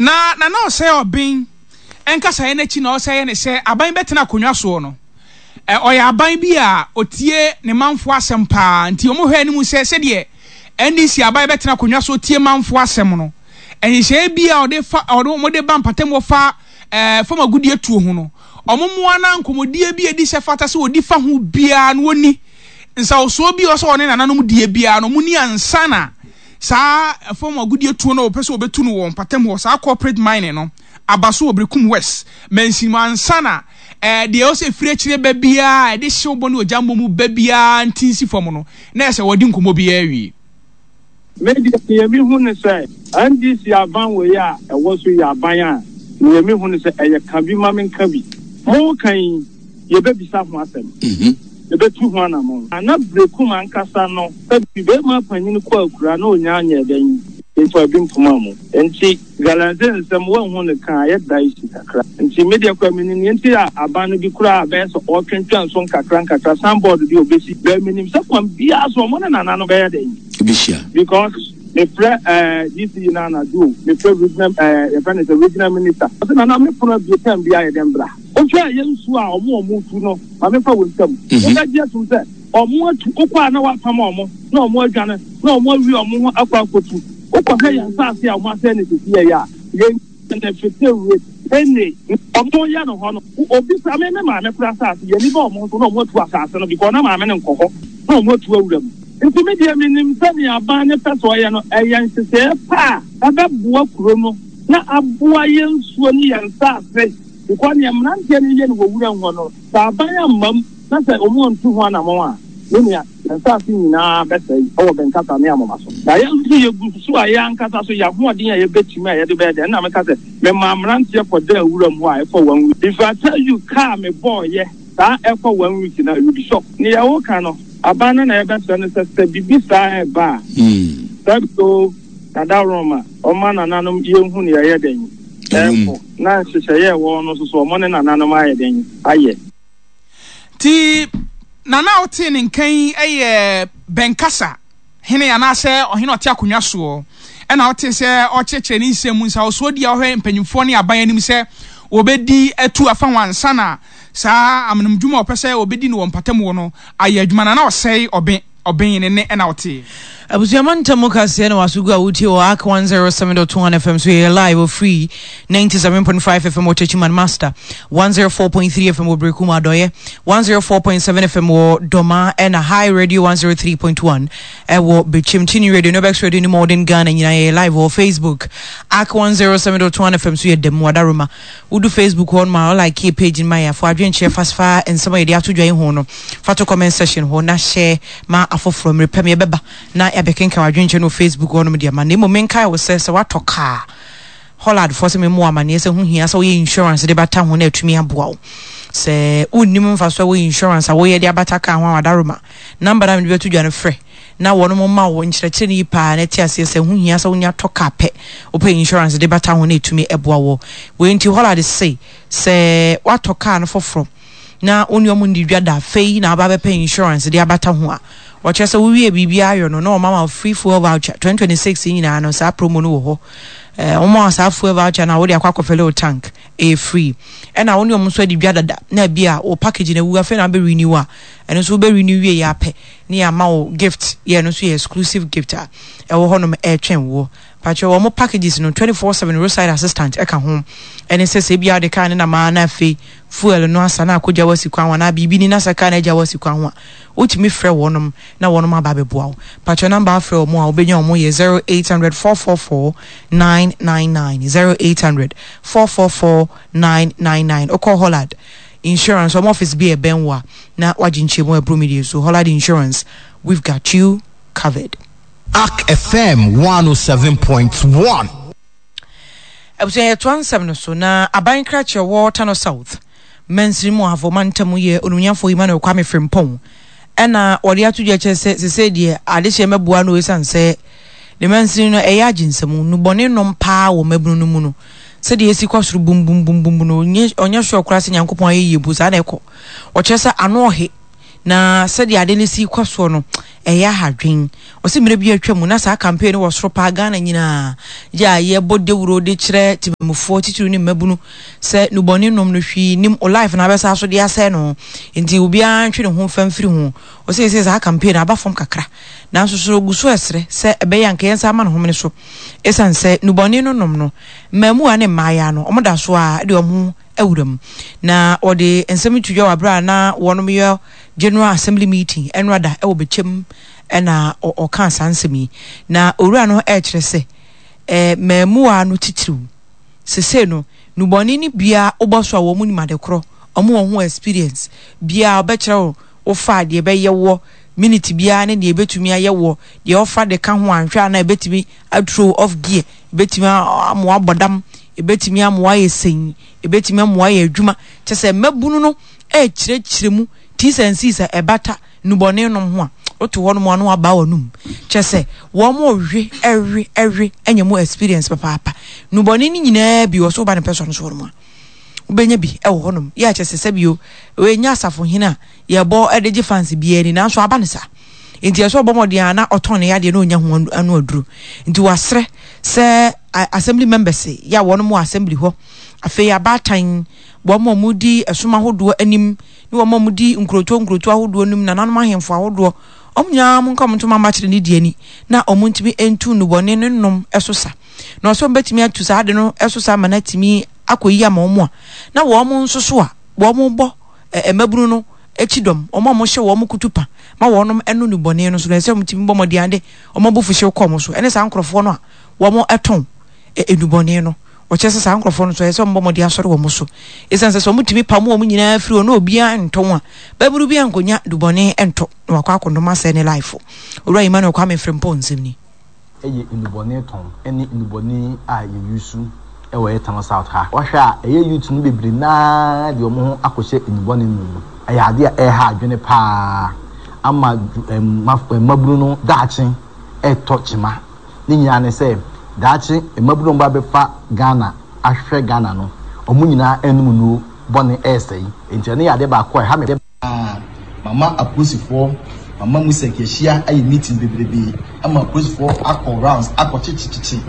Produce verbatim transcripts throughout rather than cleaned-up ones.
Na Nana Ɔsɛe Ɔben nkasaeɛ no akyi na ɔsɛeɛ ne sɛ aban bɛtena akonnwa soɔ no, ɔyɛ aban bi a ɔtie ne manfoɔ asɛm paa, nti wɔn hwɛ anim sɛ sɛdeɛ N D C aban bɛtena akonnwa so tie manfoɔ asɛm no, nhyehyɛeɛ bi a ɔde fa ɔde wɔn de ba mpatamu fa ɛɛ fam agudie tuo ho no, wɔn mmoa na nkɔmɔdie bi a edi sɛ fata sɛ wɔdi fa ho biara no, wɔni nsawosoɔ bi a ɔsɛ ɔne nananom die biara no, wɔn ni ansa na saa fam agudie tuo no a wɔpɛ sɛ wɔbɛtu no wɔ mpatamu hɔ, saa corporate mining no, aba so wɔ Berekum West mansin mu, ansa na ɛɛ deɛ ɔsɛ efiri akyire ba biara ɛde hyew bɔ ne ogya mbɔ mu ba biara nti nsi fam no, na ɛsɛ wɔde nkɔmɔ biara awie. Me deɛ, nea mehu ne sɛ N D C aban wei a ɛwɔ so yɛ aban a nea mehu ne sɛ ɛyɛ ka bi ma menka bi. Mo kan yi, yɛbɛbisa ho asɛm, yɛbɛtu ho anammɔn. Ana Berekum ankasa no, sɛbi, bɛrima panyin kɔ akura na onya nyɛ dɛn mfa bi mpoma mu, nti galamsey nsɛm wɔnhu ne ka ayɛ dicey kakra. Nti me deɛ kora menim nea nti a aban no bi koraa bɛyɛ sɛ ɔtwentwɛn so nkakra nkakra. Signboard bi a obɛsi bɛɛ, menim sɛ kwan biara so ɔmo ne nana no bɛyɛ dɛn ebihyia. Because mefrɛ ɛɛ D C na anadwo mefrɛ regional ɛɛ yɛfrɛ no sɛ regional minister, ɔsɛ nana me pono abie time bi ayɛ dɛn bra. Wohwɛ a yɛ nsuo a ɔmo ɔmo tu no, maame fa wɔ nsam, wobɛgye atum sɛ ɔmo atu wokɔ a na wapam ɔmo na ɔmo adwane na ɔmo awie ɔmo ho akɔ akɔtu. Wokɔhwɛ yɛn nsaase a ɔmo asɛe ne sisi yɛ yɛ a yɛn benefit with any ɔmo yɛ no hɔ no. Obi kura me me maame kura asase yɛn ni ba ɔmo nso na ɔmo atu asase no because na maame no nkɔ hɔ na ɔmo atu awura mu. Nti mi deɛ, mi nim sɛ nea aban ne pɛ sɛ ɔyɛ no ɛyɛ nhyehyɛeɛ pa a ɛbɛboa kuro no na aboa yɛn nsuo ne yɛn nsaase, because nea mmeranteɛ no yɛ no wɔ wura hɔ no, sɛ aban amma mu na sɛ ɔmo antu ho anammɔn a, ne nea yɛn nsaase nyinaa bɛsɛe ɛwɔ Bɛnkasa ne Amoma so. Na yɛn nso yɛgu so a yɛn ankasa so yɛn ahoɔden a yɛbɛtumi a yɛde bɛyɛ dɛ. Ɛnna meka sɛ mema mmeranteɛ kɔda awura mu hɔ a ɛkɔ one week. If I tell you car me bɔɔyɛ saa ɛkɔ one week na you be shocked. Nea wɔka no, aban no na yɛbɛsrɛ no sɛ sɛ biribi saa ɛba a, sɛ so dada roma ɔma nananom yɛnhu nea ɛyɛ dɛn ɛkɔ na nhyehyɛeɛ ɛwɔ no nso so, ɔmo ne nananom ayɛ dɛn ayɛ. Nti nana a wotee ne nkan yi yɛ Bɛnkasa hene anaasɛ ɔhene a ɔte akonnwa soɔ, ɛna wote sɛ ɔkyerɛkyerɛ ne nsɛm mu nsawosoɔ di a ɔhwɛ mpanyimfoɔ ne aban anim sɛ wɔbɛdi atu afa ho ansa na saa amenomdwuma a ɔpɛ sɛ wɔbɛdi no wɔ mpatamu wɔ no ayɛ adwuma. Nana Ɔsɛe Ɔben Ɔben ne ne ɛna ɔte. Abusuama ntam kaseɛ na waso gu a wotie wɔ A C one oh seven point one F M so. Yɛyɛ live wɔ free ninety-seven point five F M wɔ Techiman, Master one oh four point three F M wɔ Brekum Adɔyɛ, one oh four point seven F M wɔ Dɔma, ɛna High Radio one oh three point one ɛwɔ Bekyem, Tini Radio, Nobex Radio ne Modern Ghana nyinaa. Yɛyɛ live wɔ Facebook, A C one oh seven point one F M so. Yɛ dɛm wadaroma wodu Facebook hɔ no ma ɔlike page no ma yɛ afɔ adwenkyerɛ fasfa nsɛm a yɛde ato dwa yi ho no, fa to comment section hɔ na hyɛ ma afoforɔ. Mmerɛ pɛm yɛbɛba na yɛabɛkenka wadwenkyerɛ no wɔ Facebook hɔ nom deɛ ma. Na mmom menkae wo sɛ sɛ woatɔ kaa Hollard foɔ sɛ memu amanneɛ sɛ ho hia sɛ woyɛ insurance de bata ho na atumi aboa wo. Sɛ wonnim mfa so a woyɛ insurance a woyɛ de abata kaa ho a, wadaroma number na mede bɛto dwa no, frɛ na wɔn ma wo nkyerɛkyerɛ no yi paa na ɛte aseɛ sɛ ho hia sɛ wonya tɔ kaa pɛ, wopɛ insurance de bata ho na ɛtumi ɛboa wɔ wei. Nti Hollard se sɛ woatɔ kaa no foforɔ na wo ne ɔmo ndi dwa da, afei na aba bɛpɛ insurance de abata ho a, wɔkyerɛ sɛ wowie biribiara ayɔ no na ɔma ma free fuel voucher. twenty twenty-six yi nyinaa no, saa promo no wɔ hɔ. ɛɛ wɔn a saa fuel voucher na wɔde akɔ akɔfill wo tank, ɛyɛ free. Ɛna wɔn ne wɔn nso adi dwa dada na ebi a wɔ package na ewu, afei na abɛ renew a, ɛno nso wobɛ renew wie yɛ apɛ ne yɛ ama wo gift yɛ, ɛno nso yɛ exclusive gift a ɛwɔ hɔnom ɛretwɛn woɔ. Patro wɔn packages no, twenty four seven roadside assistant ɛka ho, ɛne sɛ sɛ ebi a wɔde kaa ne nam a na afei fuel no asa na akɔgya wasi kwan ho anaa biribi ni na sɛ kaa na agya wasi kwan ho a, wotumi frɛ wɔnom na wɔnom aba abɛboa wo. Patro number afrɛ wɔn a wobɛnya wɔn yɛ zero eight hundred four four four nine nine nine, zero eight hundred four four four nine nine nine. Okɔ Hollard Insurance wɔn office bi a ɛbɛn wo a na wagye nkyɛmu ɛburo mi deɛ so. Hollard Insurance, we've got you covered. A C F M one oh seven point one. Abusua, yɛtoa nsɛm no so na aban krakyɛ wɔ Tano South mansini mu ahafo mantam yɛ Onumnyafo Emmanuel Kwame Frimpong, ɛna wɔde ato dwa kyerɛ sɛ sesei deɛ adehyɛ mɛboa no, ɛsiane sɛ ne mansini no ɛyɛ agye nsɛm nubɔne nom paa wɔ mmabunu no mu no, sɛdeɛ ɛsi kɔ soro bumbumbum no, ɔnyɛ sure koraa sɛ Nyankopɔn ayɛ yie mpo saa na ɛkɔ. Ɔkyerɛ sɛ ano ɔhe Na sɛdeɛ ade no si kɔ soɔ no, ɛyɛ ahadwen. Ɔsɛ mmerɛ bi atwa mu na saa campaign no wɔ soro paa Ghana nyinaa gye a yɛbɔ dawuro de kyerɛ temamufoɔ, titiri ne mmabunu, sɛ nubɔne nom no hwii nim o, life na abɛsa so de asɛe no, nti obiara ntwe ne ho mfa mfiri ho. Ɔsɛ sɛ saa campaign no aba fam kakra, nanso so ogu so ɛsrɛ sɛ ɛbɛyɛ anka yɛn nsa ama ne homene so, ɛsiane sɛ nubɔne no nom no, mmaamuwa ne mmaayewa no, ɔmo da so a de ɔmo awura mu. Na ɔde nsɛm to dwa wɔ abere a na wɔnom yɛ General Assembly meeting ɛno ada ɛwɔ Bɛkyɛm, ɛna ɔka saa nsɛm yi. Na owura no ɛrekyerɛ sɛ ɛɛ mmaamuwa no titiriw sese no, nubɔne no bia wobɔ so a, wɔn nim ade korɔ, wɔn wɔ ho experience bia ɔbɛkyerɛ wo wofa deɛ ɛbɛyɛ wɔ minute biara ne deɛ ɛbɛtumi ayɛ wɔ deɛ ɔfa de ka ho anhwɛ a, na ɛbɛtumi athrow off gear, ɛbɛtumi amoa abɔ dam, ɛbɛtumi amoa ayɛ sɛn, ɛbɛtumi amoa ayɛ adwuma. Kyɛ sɛ mmabunu no ɛrekyerɛkyerɛ mu T's and C's a ɛbata nnubɔne nom ho a, woto hɔ nom a na waba w'anum. Kyɛ sɛ wɔn mo we ɛwe ɛwe anya mu experience papaapa. Nnubɔne no nyinaa bi wɔ so, woba ne pɛ sɔ no so hɔ nom a, wobɛnya bi ɛwɔ hɔnom. Yɛ akyɛ sɛ sɛbio ɛnyɛ asafohene a yɛbɔ ɛde gye fans biara ni, nanso aba ne saa nti ɛsɛ ɔbɔ mmɔden a na ɔtɔn ne yadeɛ na ɔnya ho ano aduro. Nti wasrɛ sɛ assembly members yɛ a wɔn mo assembly hɔ, afei abaatan, wɔn a wɔdi ɛsom ahodoɔ anim ne wɔn a wɔdi nkurotoɔ nkurotoɔ ahodoɔ anim, nananom ahemfo ahodoɔ, wɔn nyinaa mo nka wɔn ntoma mmakyerɛ ne di ani na wɔn ntumi ntu nnubɔne ne nom so sa. Na ɔsɛ wɔn bɛtumi atu saa ade no so sa ama no atumi akɔ yi ama wɔn a na wɔn nso so a wɔn bɔ mmabunu no akyi dɔm, wɔn a wɔhyɛ wɔn kutu pa ma wɔn ɛno nnubɔne no so no, ɛsɛ wɔn tumi bɔ mmɔden ade wɔn abufuhyew kɔ wɔn so, ɛne saa nkorɔfoɔ no a wɔn ɛtɔn nnubɔne no. Wɔkyerɛ sɛ saa nkorɔfoɔ no so, ɛsɛ sɛ wɔn bɔ mmɔden asɔre wɔn so, ɛsiane sɛ sɛ wɔn tumi pam wɔn nyinaa firi hɔ na obiara ntɔn a, bɛburu bi ankonya nnubɔne ntɔ na wakɔ akɔnom asɛe ne life. Owura Emmanuel Kwame Frimpong nsɛm ni. Ɛyɛ nnubɔne tɔn ne nnubɔne a yɛuse ɛwɔ yɛ Tano South ha. Wɔhwɛ a, ɛyɛ youth no bebree naa de wɔn ho akɔhyɛ nnubɔne no mu. Ɛyɛ adeɛ a ɛreha adwene paa ama mmabunu no daakye ɛretɔ kyima. Ne nyinaa ne sɛ daakye mmabunu a wɔba abɛfa Ghana ahwehwɛ Ghana no, wɔn nyinaa anom nnuro bɔne ɛresɛe. Nti ɛno yɛ adeɛ baako a ɛha me. Mama apolisifoɔ, mama musek yɛhyia ayɛ meeting bebrebe ama apolisifoɔ akɔ rounds akɔ kyekyekye,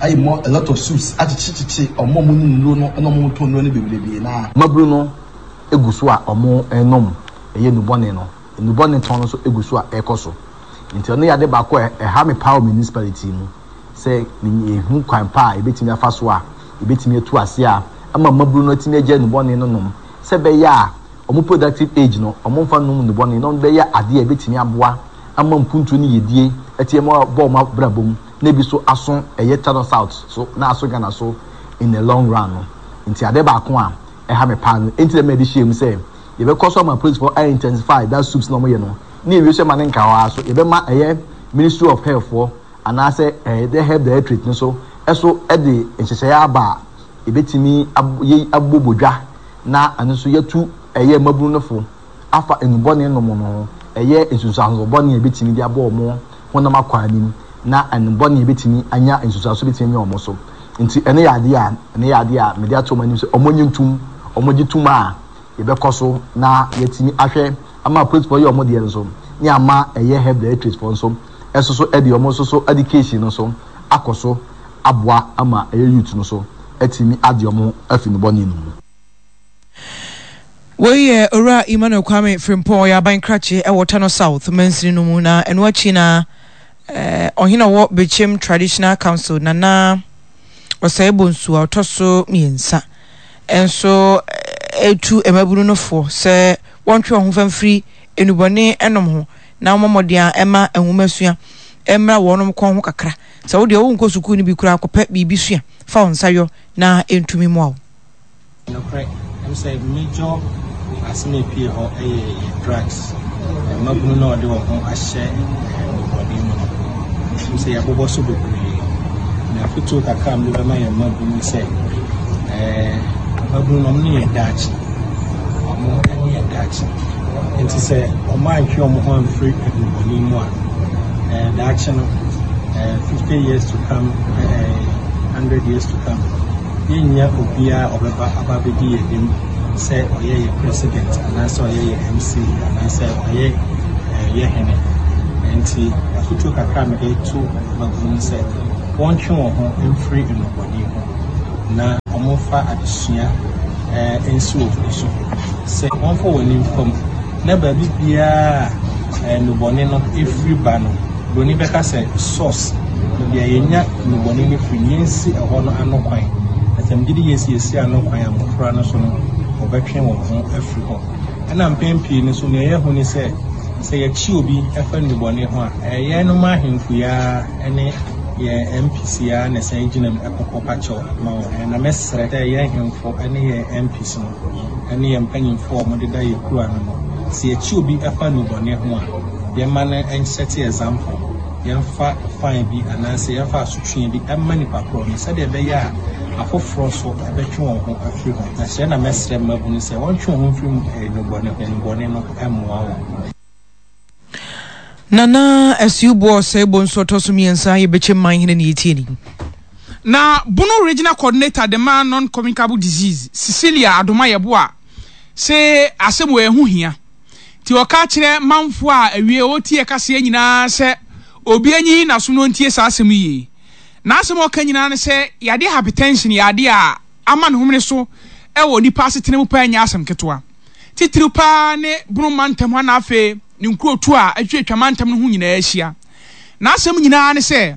ayɛ mo a lot of suits akyekyekyekye ɔmo a ɔmo nom nnuro no ɛna ɔmo tɔn nnuro no bebrebe. Na mmabunu no egu so a ɔmo ɛnom ɛyɛ nnubɔne no, nnubɔne tɔn no nso egu so a ɛrekɔ so. Nti ɔno yɛ ade baako a ɛha me paa wɔ municipality mu, sɛ ehu kwan pa a ebetumi afa so a ebetumi atu ase a ama mmabunu no atumi agya nnubɔne no nom, sɛ bɛyɛ a ɔmo productive age no, ɔmo nfa nom nnubɔne na ɔmo bɛyɛ adeɛ a ebetumi aboa ama mpuntuo ne yɛdie ɛti ɛmo bɔ ɔmo abrabɔ mu, na ebi so aso ɛyɛ Tano South so na aso Ghana so in the long run no. Nti ade baako a ɛha me paa no, nti dɛm ɛde hyɛ mu sɛ yɛbɛkɔ so ama police for intensify that swoops na ɔmo yɛ no, ne ewie so ɛma ne nka hɔ ara so, yɛbɛma ɛyɛ Ministry of Health foɔ anaasɛ ɛyɛ the Health Directorate no so ɛso ɛde nhyehyɛeɛ aba a ebetumi yɛ abobɔ dwa, na ɛno nso yɛtu ɛyɛ mmabunu no fo afa nnubɔne nom no ho, ɛyɛ nsunsuanso bɔne a ebetumi de abɔ wɔn honam akɔ anim, na nnubɔne a ebetumi anya nsunsuanso betumi anya wɔn so. Nti ɛno yɛ adeɛ a ɛno yɛ adeɛ a mede ato wɔn anim sɛ wɔn nye ntum, wɔn gye tum a yɛbɛkɔ so na yɛtumi ahwɛ ama apolisifoɔ yɛ wɔn deɛ nso, ne ama ɛyɛ Health Directorate foɔ nso ɛso so ɛde wɔn nso so education no so akɔ so aboa ama ɛyɛ youth no so ɛtumi ade wɔn afi nnubɔne no mu. Wei yɛ Owura Emmanuel Kwame Frimpong, ɔyɛ aban krakye ɛwɔ Tano South mansini no mu. Na ɛno akyi na ɔhene a ɔwɔ Bɛkyɛm Traditional Council, Nana Ɔsɛe Bonsu a ɔtɔ so mmiɛnsa, nso etu mmabunu no foɔ sɛ wɔntwe wɔn ho fa mfiri nnubɔne nom ho na wɔn mmɔden a ɛma nwomasua mmra wɔn kɔn ho kakra. Sɛ wodeɛ wonkɔ sukuu no bi koraa, kɔpɛ biribi sua fa wo nsa yɔ na ɛntumi mmoa wo. Nokorɛ ɛm sɛ major asɛm a epie hɔ ɛyɛ yɛ drugs. Mmabunu na ɔde wɔn ho ahyɛ nnubɔne mu no, ɛm sɛ yɛabobɔ so bebree. Na afotuo kakra a mede bɛma yɛn mmabunu sɛ ɛɛ mmabunu no, ɔmo ne yɛ daakye, ɔmo ne yɛ daakye. Nti sɛ ɔmo antwe ɔmo ho amfiri nnubɔne mu a, ɛɛ daakye no, ɛɛ fifty years to come, ɛɛ hundred years to come, yɛnnya obiara ɔbɛba aba abɛdi yɛn anim. Sɛ ɔyɛ yɛ president anaasɛ ɔyɛ yɛ M C anaasɛ ɔyɛ yɛ hene. Nti afotuo kakra a mede to mmabunu sɛ wɔntwe wɔn ho mfiri nnubɔne ho na wɔmfa adesua nsi wɔ wɔn so, sɛ wɔmfa wɔn ani mfam na baabi biara a nnubɔne no efiri ba no, broni bɛka sɛ source, baabi a yɛnya nnubɔne no firi, yɛnsi ɛhɔ no ano kwan. Na sɛ megye di yɛsi yɛsi ano kwan a, mmɔfra no so no wɔbɛtwe wɔn ho afiri hɔ. Ɛna mpɛn pii no so, nea ɛyɛ ho ne sɛ, sɛ yɛkyi obi ɛfa nnubɔne ho a, ɛyɛ no ma ahemfo yi ara ne yɛn M Ps yi ara na ɛsan gyina mu ɛkɔkɔ pakyɛw ma wɔn. Na mɛsrɛ sɛ yɛn ahemfo ne yɛn M Ps no ne yɛn mpanyinfoɔ a wɔdeda yɛn kuro ano no, sɛ yɛkyi obi ɛfa nnubɔne ho a, yɛma no nset example, yɛmfa fine bi anaasɛ yɛmfa asotwe bi ɛma nipa korɔ no, sɛdeɛ ɛbɛyɛ a afoforɔ so ɛbɛtwe wɔn ho afiri ho. Na srɛ na mɛsrɛ mmabunu sɛ wɔntwe wɔn ho mfiri nnubɔne ho. Nnubɔne no ɛmmoa wɔn. Nana Asuoboɔ Ɔsɛe Bonsu ɔtɔ so mmiɛnsa, yɛbɛkyɛ man hene ne yɛtie ni. Na Bono Regional Coordinator de ma Non-Communicable Disease, Cecilia Adoma Yɛboa, sɛ asɛm wɔ ɛho hia, nti ɔka kyerɛ manfoɔ a awie ɔtie kaseɛ nyinaa sɛ obi anyi n'aso no ntie saa asɛm yie. N'asɛm a ɔka nyinaa ne sɛ yadeɛ hypertension yɛ adeɛ a ama ne homene so ɛwɔ nipa asetena mu paa, nyɛ asɛm ketewa, titiriw paa ne Bono mantam ha na afei ne nkurotu a atwitwa mantam no ho nyinaa ahyia. N'asɛm nyinaa ne sɛ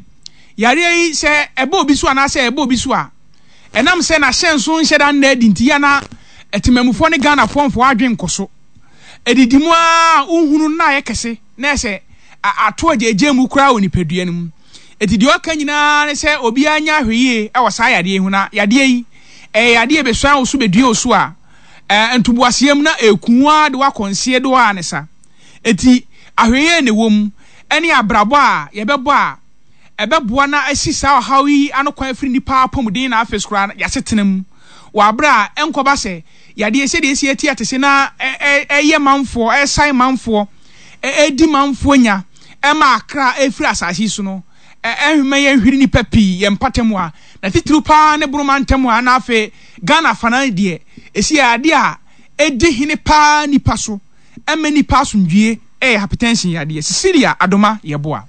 yareɛ yi, sɛ ɛbɛ obi so anaasɛ ɛbɛ obi so a, ɛnam sɛ n'ahyɛnso nhyɛ da nna adi nti, yana ɛtemamufoɔ ne Ghanafoɔ mfoɔ adwe nkɔ so ɛdidi mu a wohunu na ayɛ kɛse na ɛsɛ ato agyegye mu koraa wɔ nipadua no mu. Eti deɛ ɔka nyinaa ne sɛ obiara nya ahwɛyie ɛwɔ saa yadeɛ yi ho, na yadeɛ yi ɛyɛ yadeɛ bɛsua wo so bɛdua wo so a, ɛɛ ntoboaseɛ mu na eku a de wakɔ nseɛ do a ne sa. Eti ahwɛyie na ɛwɔ mu ɛne abrabɔ a yɛbɛbɔ a ɛbɛboa na asi saa ɔhaw yi ano kwan afiri nipa apɔmuden na afei koraa yɛasetena mu wɔ abere a ɛnkɔba sɛ yadeɛ sɛdeɛ esi eti ate se na ɛyɛ manfoɔ, ɛsan manfoɔ, ɛdi manfoɔ nya, ɛma akra ɛfiri asase yi so no, ɛhwɛmɛ yɛn hwiri nipa pii yɛn mpata mu a, na titiriw paa ne Boroma ntam a, na afei Ghana afanan deɛ esi yɛ adeɛ a ɛdi hene paa nipa so, ɛmɛ nipa asomdwie, ɛyɛ hypertension yadeɛ. Cecilia Adoma Yɛboa.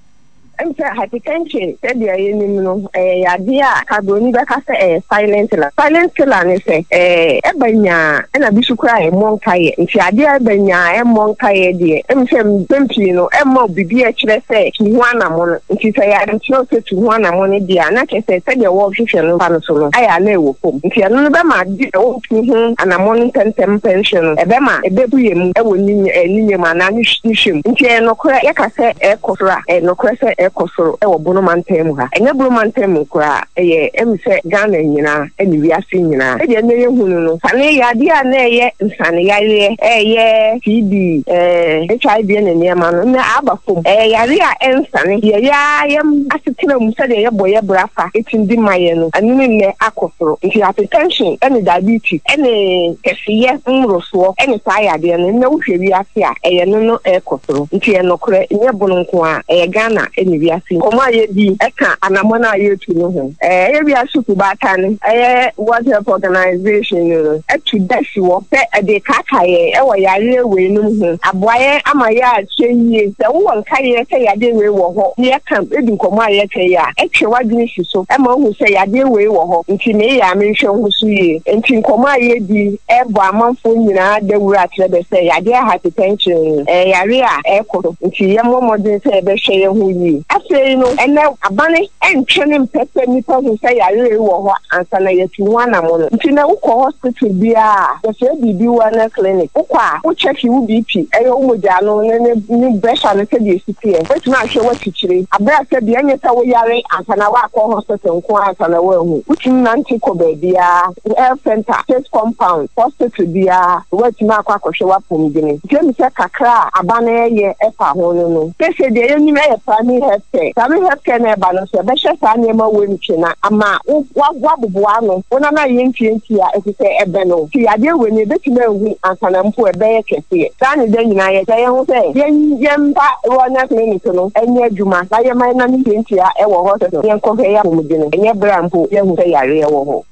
Sɛ hypertension, sɛdeɛ yɛnim no, ɛyɛ yadeɛ a kabroni bɛka sɛ ɛyɛ silent killer. Silent killer ne sɛ ɛɛ ɛba nyaa, ɛna bi so koraa ɛmmɔ nkaeɛ. Nti adeɛ a ɛba nyaa ɛmmɔ nkaeɛ deɛ, ɛmu sɛ mpɛn pii no ɛmma biribi a ɛkyerɛ sɛ tu ho anamɔ no. Nti sɛ yɛade kyerɛw sɛ tu ho anamɔ no deɛ a, na kyerɛ sɛ sɛdeɛ wɔrehwehwɛ no fa no so no ayɛ a na ɛwɔ fam. Nti ɛno no bɛma adeɛ a wɔtu ho anamɔ no ntɛmntɛm mpɛnhwɛ no, ɛbɛma ɛbɛbu yɛ mu ɛwɔ ne ne mu anaa ne hwɛ mu. Nti ɛyɛ nokorɛ, yɛka sɛ ɛkɔ soro a, ɛyɛ nokorɛ sɛ ɛkɔ soro ɛwɔ Bono mantam mu ha. Ɛnyɛ Bono mantam mu koraa, ɛyɛ ɛmu sɛ Ghana nyinaa ɛne wiase nyinaa. Sɛdeɛ ɛnɛ yɛhu no no sane yɛ adeɛ a na ɛyɛ nsane yareɛ, ɛyɛ T B, ɛɛ H I V ne nneɛma no, na aba fam. Ɛyɛ yare a ɛnsane yɛyɛ a yɛm asetena mu sɛdeɛ yɛbɔ yɛ bra fa ɛtumi di ma yɛ no, ɛno ne nnɛ akɔ soro. Nti hypertension ɛne diabetes ɛne kɛseyɛ mmorosoɔ ɛne saa yadeɛ no, nnɛ wohwɛ wiase a, ɛyɛ no no ɛkɔ soro. Nti yɛ nokorɛ, nyɛ Bono nko a, ɛyɛ Ghana ɛne wiase. Nkɔmmɔ a yɛdi ɛka anammɔn a yɛtu no ho, ɛyɛ wiase kubaatan, ɛyɛ World Health Organization no ɛtu da si wɔ sɛ ɛde kaaka yɛn ɛwɔ yareɛ wei nom ho, aboa yɛn ama yɛ akyɛ yie. Sɛ wowɔ nkaeɛ sɛ yadeɛ wei wɔ hɔ ne yɛka ɛdi nkɔmmɔ a yɛka yi a, ɛtwe w'adwene si so ɛma wohu sɛ yadeɛ wei wɔ hɔ, nti meyɛ a menhwɛ ho so yie. Nti nkɔmmɔ a yɛdi ɛbɔ amanfoɔ nyinaa dawuro akyerɛ bɛ sɛ yadeɛ hypertension ɛyɛ yare a ɛkɔ so, nti yɛmmɔ mmɔden sɛ yɛbɛhwɛ yɛn ho yie. Afei no, ɛnɛ abane ɛntwe ne mpɛ sɛ nnipa hu sɛ yare wɔ hɔ ansa na yɛtu ho anamo no. Nti na wokɔ hospital biara, yɛfrɛ biribi wellness clinic, wokɔ a wokyɛke wo B P, ɛyɛ wo mogya no ne ne ne pressure no sɛdeɛ esi teɛ, wobɛtumi ahwɛ w'akyikyire abere a sɛ bia nyɛ sɛ woyare ansa na woakɔ hospital nko ansa na woahu. Wotumi nante kɔ baabiara, health center, state compound, hospital biara, woatumi akɔ akɔhwɛ w'apɔmuden. Nti emi sɛ kakra a aba no ɛyɛ ɛfa ho no no sese deɛ yɛnim ɛyɛ primary health care. Primary health care na ɛba no nso, ɛbɛhwɛ saa nneɛma wɔ ntwe na ama woaboboa ano wo nana yɛ ntiantia, ɛfiri sɛ ɛbɛ no nti yadeɛ wɔ ni ebɛtumi ahu ansa na mpo ɛbɛyɛ kɛseɛ. Saa ne da nyinaa yɛkyɛ yɛn ho sɛ yɛn yɛmfa wellness clinic no ɛnyɛ adwuma na yɛma yɛn nane ntiantia ɛwɔ hospital, yɛnkɔhwɛ yɛ apɔmuden, ɛnyɛ berɛ a mpo yɛhu sɛ yareɛ wɔ hɔ.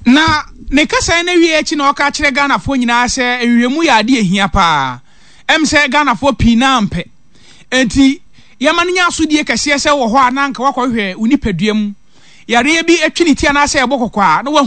Na ne kasaeɛ no awieɛ akyi na ɔka kyerɛ Ghanafoɔ nyinaa sɛ nhwehwɛmu yɛ adeɛ ɛhia paa. Ɛm sɛ Ghanafoɔ pii no ara mpɛ. Enti yɛma no nya asodie kɛseɛ sɛ wɔ hɔ a na anka woakɔhwehwɛ wo nipadua mu yareɛ bi atwi ne ti anaasɛ ɛbɔ kɔkɔ a na wahu.